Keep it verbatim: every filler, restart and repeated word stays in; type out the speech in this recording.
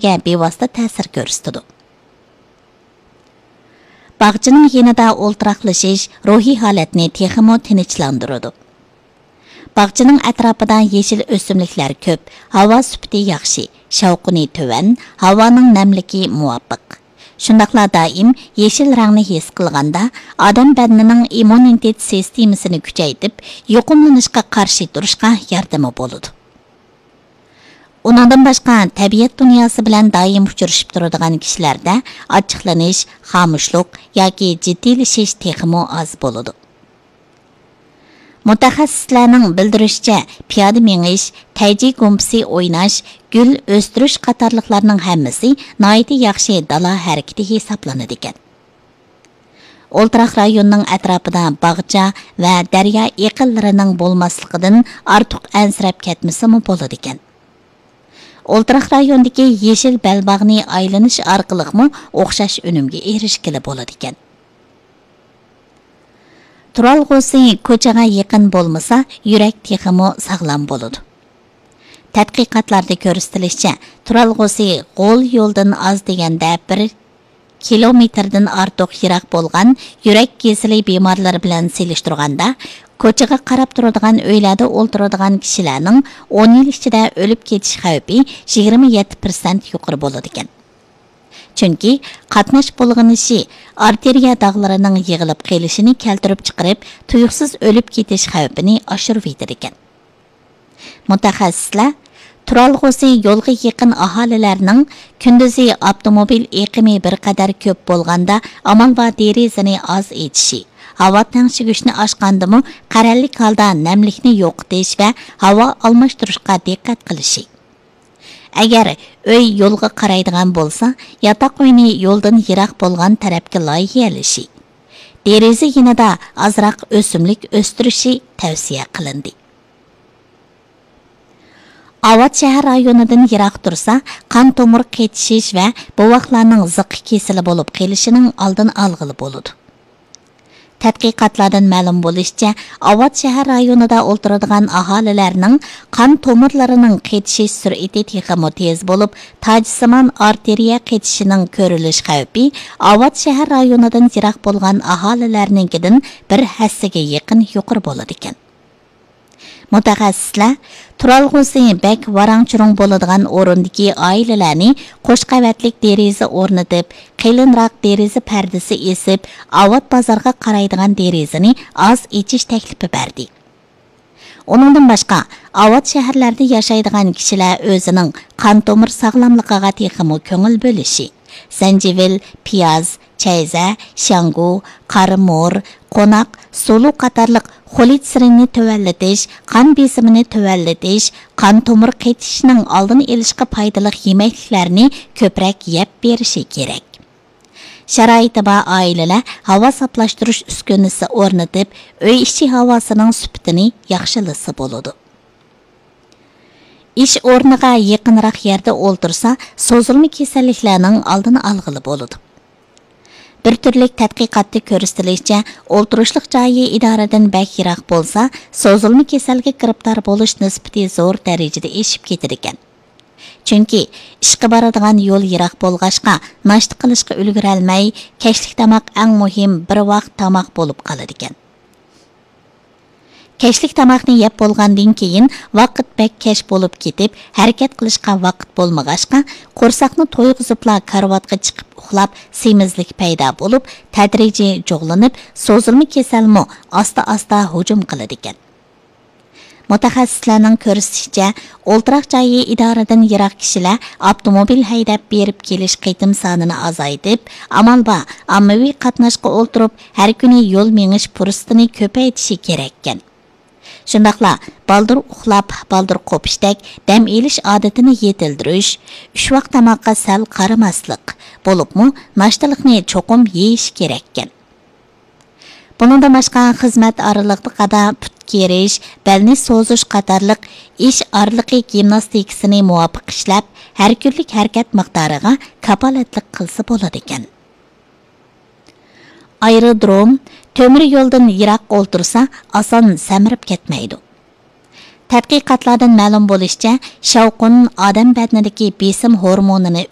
ئىشلىتىشكە بىۋاسىتە تەسىر كۆرسىتىدۇ. باغچىنىڭ يېنىدا ئولتۇراقلىشىش روھىي ھالەتنى تېخىمۇ تىنچلاندۇرىدۇ. باغچىنىڭ ئەتراپىدا يېشىل ئۆسۈملۈكلەر كۆپ، ھاۋا سۈپىتى ياخشى، شاۋقۇنى تۆۋەن، ھاۋانىڭ نەملىكى مۇۋاپىق. شۇنداقلا دائىم يېشىل رەڭنى ھېس قىلغاندا، ئادەم بەدىنىنىڭ ئىممۇنىتېت سىستېمىسىنى كۈچەيتىپ، يۇقۇملىنىشقا قارشى تۇرۇشقا ياردىمى بولىدۇ. ئۇنىڭدىن باشقا، تەبىئەت دۇنياسى بىلەن دائىم ئۇچرىشىپ تۇرىدىغان كىشىلەردە ئاچچىقلىنىش، خامۇشلۇق ياكى جىددىيلىشىش تېخىمۇ ئاز بولىدۇ. مۇتەخەسسىسلەرنىڭ بىلدۈرۈشىچە، پىيادە مېڭىش، تەيجى گۇمپىسى ئويناش، گۈل ئۆستۈرۈش قاتارلىقلارنىڭ ھەممىسى ناھايىتى ياخشى دالا ھەرىكىتى ھېسابلىنىدىكەن. ئولتۇراق رايوننىڭ ئەتراپىدا باغچا ۋە دەريا ئېقىنلىرىنىڭ بولماسلىقىدىن ئارتۇق ئەنسىرەپ كەتمىسىمۇ بولىدىكەن. ئولتۇراق رايوندىكى يېشىل بەلباغنى ئايلىنىش ئارقىلىقمۇ ئوخشاش ئۈنۈمگە ئېرىشكىلى بولىدىكەن. تۇرالغۇسى كوچىغا يېقىن بولمىسا، يۈرەك تېخىمۇ ساغلام بولىدۇ. تەتقىقاتلاردا كۆرسىتىلىشىچە، تۇرالغۇسى غول يولدىن ئاز دېگەندە بىر كىلومېتىردىن ئارتۇق يىراق بولغان يۈرەك كېسىلى بىمارلىرى بىلەن سېلىشتۇرغاندا، كوچىغا قاراپ تۇرىدىغان ئۆيلەردە ئولتۇرىدىغان كىشىلەرنىڭ ئون يىل ئىچىدە ئۆلۈپ كېتىش خەۋپى يىگىرمە يەتتە پىرسەنت يۇقىرى بولىدىكەن. چۈنكى قاتناش بۇلغىنىشى ئارتېرىيە داغلىرىنىڭ يىغىلىپ قېلىشىنى كەلتۈرۈپ چىقىرىپ، تۇيۇقسىز ئۆلۈپ كېتىش خەۋپىنى ئاشۇرۇۋېتىدىكەن. مۇتەخەسسىسلەر تۇرالغۇسى يولغا يېقىن ئاھالىلەرنىڭ كۈندۈزى ئاپتوموبىل ئېقىمى بىر قەدەر كۆپ بولغاندا، ئامال بار دېرىزىنى ئاز ئېچىشى، ھاۋا تەڭشىگۈچنى ئاچقاندىمۇ قەرەللىك ھالدا نەملىكنى يوقىتىش ۋە ھاۋا ئالماشتۇرۇشقا دىققەت قىلىشى. ئەگەر ئۆي يولغا قارايدىغان بولسا، ياتاق ئۆينى يولدىن يىراق بولغان تەرەپكە لايىھەلىشى، دېرىزە يېنىدا ئازراق ئۆسۈملۈك ئۆستۈرۈشى تەۋسىيە قىلىندى. ئاۋات شەھەر رايونىدىن يىراق تۇرسا، قان تومۇر قېتىشىش ۋە بوۋاقلارنىڭ زىققا كېسىلى بولۇپ قېلىشىنىڭ ئالدىنى ئالغىلى بولىدۇ. تەتقىقاتلاردىن مەلۇم بولۇشىچە، ئاۋات شەھەر رايونىدا ئولتۇرىدىغان ئاھالىلەرنىڭ قان تومۇرلىرىنىڭ قېتىشىش سۈرئىتى تېخىمۇ تېز بولۇپ، تاجسىمان ئارتېرىيە قېتىشىشىنىڭ كۆرۈلۈش خەۋپى ئاۋات شەھەر رايونىدىن يىراق بولغان ئاھالىلەرنىڭكىدىن بىر ھەسسىگە يېقىن يۇقىرى بولىدىكەن. مۇتەخەسسىسلەر تۇرالغۇسى بەك ۋاراڭ-چۇرۇڭ بولىدىغان ئورۇندىكى ئائىلىلەرنى قوش قەۋەتلىك دېرىزە ئورنىتىپ، قېلىنراق دېرىزە پەردىسى ئېسىپ، ئاۋات بازارغا قارايدىغان دېرىزىنى ئاز ئېچىش تەكلىپى بەردى. ئۇنىڭدىن باشقا، ئاۋات شەھەرلەردە ياشايدىغان كىشىلەر ئۆزىنىڭ قان تومۇر ساغلاملىقىغا تېخىمۇ كۆڭۈل بۆلۈشى، زەنجىۋىل، پىياز، چەيزە، شياڭگۇ، قارىمۇر، قوناق، سۇلۇ قاتارلىق خولېستېرىننى تۆۋەنلىتىش، قان بېسىمىنى تۆۋەنلىتىش، قان تومۇر قېتىشىشنىڭ ئالدىنى ئېلىشقا پايدىلىق يېمەكلىكلەرنى كۆپرەك يەپ بېرىشى كېرەك. شارائىتى بار ئائىلىلەر ھاۋا ساپلاشتۇرۇش ئۈسكۈنىسى ئورنىتىپ، ئۆي ئىچى ھاۋاسىنىڭ سۈپىتىنى ياخشىلىسا بولىدۇ. ئىش ئورنىغا يېقىنراق يەردە ئولتۇرسا، سوزۇلما كېسەللىكلەرنىڭ ئالدىنى ئالغىلى بولىدۇ. بىر تۈرلۈك تەتقىقاتتا كۆرسىتىلىشىچە، ئولتۇرۇشلۇق جايى ئىدارىدىن بەك يىراق بولسا، سوزۇلما كېسەلگە گىرىپتار بولۇش نىسبىتى زور دەرىجىدە ئېشىپ كېتىدىكەن. چۈنكى ئىشقا بارىدىغان يول يىراق بولغاچقا، ناشتا قىلىشقا ئۈلگۈرەلمەي، كەچلىك تاماق ئەڭ مۇھىم بىر ۋاق تاماق بولۇپ قالىدىكەن. كەچلىك تاماقنى يەپ بولغاندىن كېيىن، ۋاقىت بەك كەچ بولۇپ كېتىپ، ھەرىكەت قىلىشقا ۋاقىت بولمىغاچقا، قورساقنى تويغۇزۇپلا كارىۋاتقا چىقىپ ئۇخلاپ، سېمىزلىك پەيدا بولۇپ، تەدرىجىي جۇغلىنىپ، سوزۇلما كېسەلمۇ ئاستا-ئاستا ھۇجۇم قىلىدىكەن. مۇتەخەسسىسلەرنىڭ كۆرسىتىشىچە، ئولتۇراق جايى ئىدارىدىن يىراق كىشىلەر ئاپتوموبىل ھەيدەپ بېرىپ كېلىش قېتىم سانىنى ئازايتىپ، ئامال بار ئاممىۋى قاتناشقا ئولتۇرۇپ، ھەر كۈنى يول مېڭىش پۇرسىتىنى كۆپەيتىشى كېرەككەن. شۇنداقلا بالدۇر ئۇخلاپ، بالدۇر قوپۇشتەك دەم ئېلىش ئادىتىنى يېتىلدۈرۈش، ئۈچ ۋاق تاماققا سەل قارىماسلىق، بولۇپمۇ ناشتىلىقنى چوقۇم يېيىش كېرەككەن. بۇنىڭدىن باشقا، خىزمەت ئارىلىقىدا پۇت كېرىش، بەلنى سوزۇش قاتارلىق ئىش ئارىلىقى گىمناستىكىسىنى مۇۋاپىق ئىشلەپ، ھەر كۈنلۈك ھەرىكەت مىقدارىغا كاپالەتلىك قىلسا بولىدىكەن. ئايرودروم، تۆمۈر يولدىن يىراق ئولتۇرسا، ئاسان سەمرىپ كەتمەيدۇ. تەتقىقاتلاردىن مەلۇم بولۇشىچە، شاۋقۇن ئادەم بەدىنىدىكى بېسىم ھورمونىنى